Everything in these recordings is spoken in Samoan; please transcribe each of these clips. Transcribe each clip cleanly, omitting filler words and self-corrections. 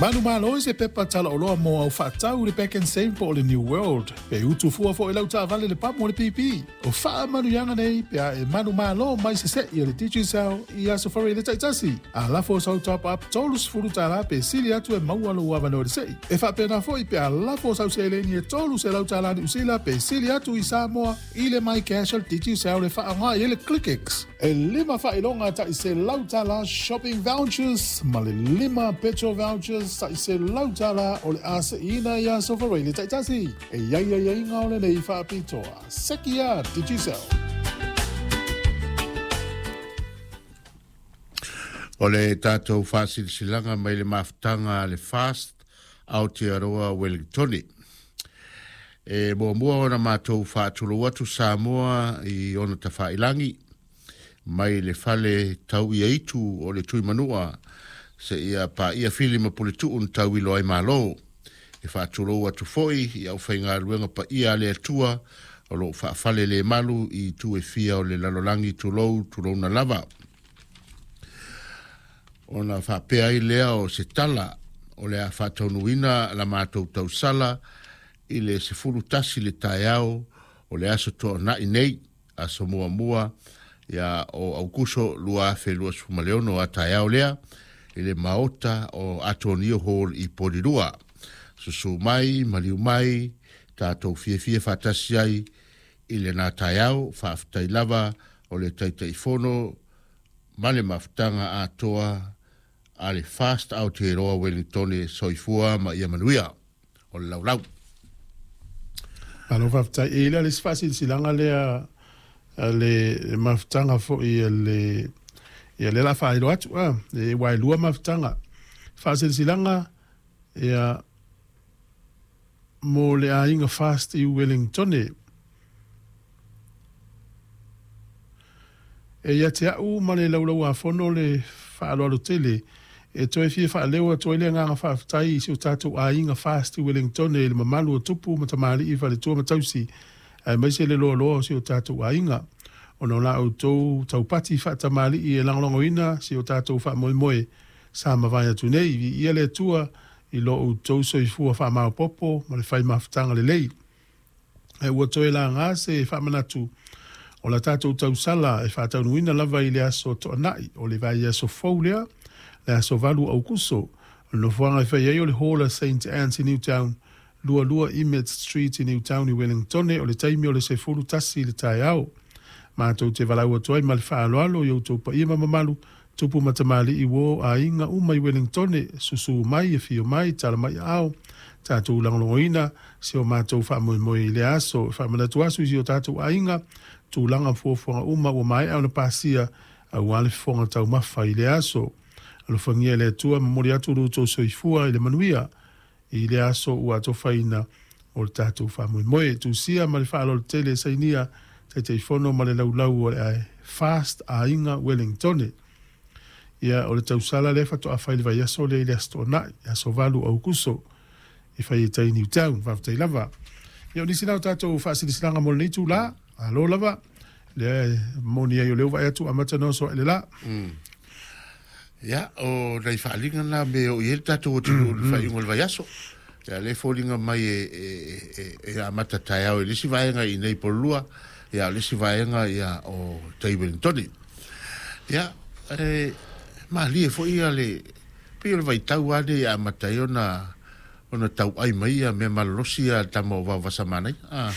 Manumalo i se pepa talaoloa mo au faatau i le Pak'nSave po o le New World. Pe utu fua foi lau taavale le pamu o le pipi. O faamanuiaga nei pe a e manumalo mai se se'i a le Digicel i Aso Faraile taitasi. A lafo sau top up $30 pe sili atu e maua lou avanoa i le se'i. E faapena foi pe a lafo sau seleni e $300 Niu Sila pe sili atu i Samoa i le MyCash a le Digicel e faaaoga i ai le ClickX. E lima faailoga tai $100 shopping vouchers ma le lima petrol vouchers tai $100 o le a se'iina i Aso Faraile taitasi. E i ai aiaiga o lenei faapitoa. Seki a Digicel. O le tatou faasilasilaga mai le mafutaga a le Fast Aotearoa Wellingtone. E muamua ona matou faatulou atu Samoa i ona tafailagi mai le fale tau ia itu o le Tuimanua seia paia Fili ma Puletuu na tauilo ai Malo. E faatulou atu foi i aufaigaluega paia a le Atua o lo o faafale le malu i itu e fia o le lalolagi tulou tulouna lava. Ona faapea ai lea o se tala, o le a faataunuuina la matou tausala i le 11 le taeao o le aso Toonai nei, aso muamua ia o Aukuso 2026 a taeao lea i le maota o Atonio Hall i Porirua. Susu mai, maliu mai, tatou fiafia faatasi ai i lena taeao. Faafetai lava o le Taitaifono ma le mafutaga atoa a le Fast Aotearoa Wellingtone. Soifua ma ia manuia. O le laulau. Malo faafetai. E i ai la le isi faasilasilaga lea a le mafutaga foi a le ia lea la faailoa atu a e ua e lua mafutaga faasilasilaga ia mo le aiga Fast i Wellingtone. E ia te a'u ma le Laulau-a-Fono le faaaloalo tele e toe fia faaleo atu ai le agaga faafetai i si o tatou aiga Fast i Wellingtone i le mamalu o tupu ma tamalii, faletua ma tausi, aemaise le loaloa o si o tatou aiga. Ona o la outou taupati faatamalii e lagolagoina si o tatou faamoemoe sa mavae atu nei, viia le Atua i lo outou soifua faamaopoopo ma le fai mafutaga lelei. Ae ua toe laga se faamanatu o la tatou tausala e faataunuuina lava i le aso Toonai o le vaiaso fou lea, le aso 8 o Aukuso. O le nofoaga e fai ai o le Hall a Saint Anne's i Newtown, 22 Emmett Street i Newtown i Wellingtone, o le taimi o le 11 i le taeao. Matou te valaau atu ai ma le faaaloalo i outou paia ma mamalu, tupu ma tamalii uo aiga uma i Wellingtone, susu mai, afio mai, tala mai aao, tatou lagolagoina si o matou faamoemoe i lea aso. E faamanatu asu i si o tatou aiga, tulaga ma fuafuaga uma ua maea ona pasia aua le fofoga taumafa i lea aso. Alofagia e le Atua, momoli atu lo outou soifua i le manuia i lea aso ua atofaina o le tatou faamoemoe. Tusia ma le faaaloalo tele e sainia Taitaifono ma le laulau o le Fast Aiga Wellingtone. Ia, o le tausala lea faatoa fai le vaiaso lea i le Aso Toonai, aso 8 o Aukuso, e fai ai tai Newtown. Faafetai lava. Ia, o nisi na o tatou faasilasilaga mo lenei itula. Malo lava. Lea e moni ai o lea ua vaai atu ua amata ona oso ae le la. Ia, o nai faaaliga na me o i ai le tatou atunuu i le faaiuga o le vaiaso. Ia, lea e foliga mai e, e, e, e amata taeao i le isi vaega i inei i Pololua, ia, o le isi vaega ia o tai Wellingtone. Ia, e malie foi ia le, pei o le vaitau lava lenei e amata ai ona ona tauai mai ia mea malolosi ia a le tama o Vaovasamanaia. Ah.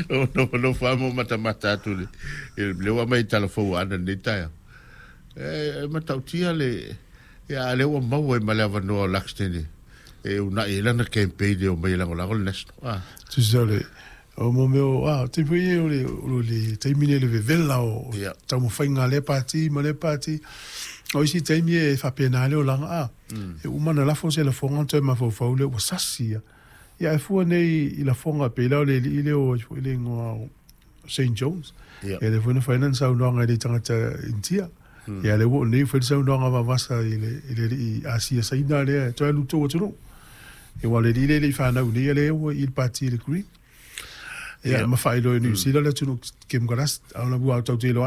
O nofonofo lava ma matamata atu i le, lea ua aumai i tala fou a Ana i lenei taeao. E matautia le, ia, a lea ua maua ai ma le avanoa o Luxton e uunai ai lana campaign e omai e lagolago le National. Ah. Tusa o le, o mo mea o, ah, te pui e o le, o le taimi nei le vevela o taumafaiga a lea pati ma lea pati. O isi taimi e faapena le olaga, ah. E uma ona lafo se lafoga ona toe mafaufau lea ua sasi ia. Ia ae fua nei i lafoga pei la o le alii lea o ai foi le igoa o Shane Jones. Ia lea foi na fai lana saunoaga i le tagata Initia. Ia lea ua oo nei ua fai le saunoaga vavasa i le i le alii Asia Saina lea e toe alu i le tou atunuu. Ia aua o le alii lea e le i fanau i inei a lea ua i le pati i le Green. Ia ma faailoa e Niu Sila le atunuu Kemukarasi. A o la ua tatou te iloa lava.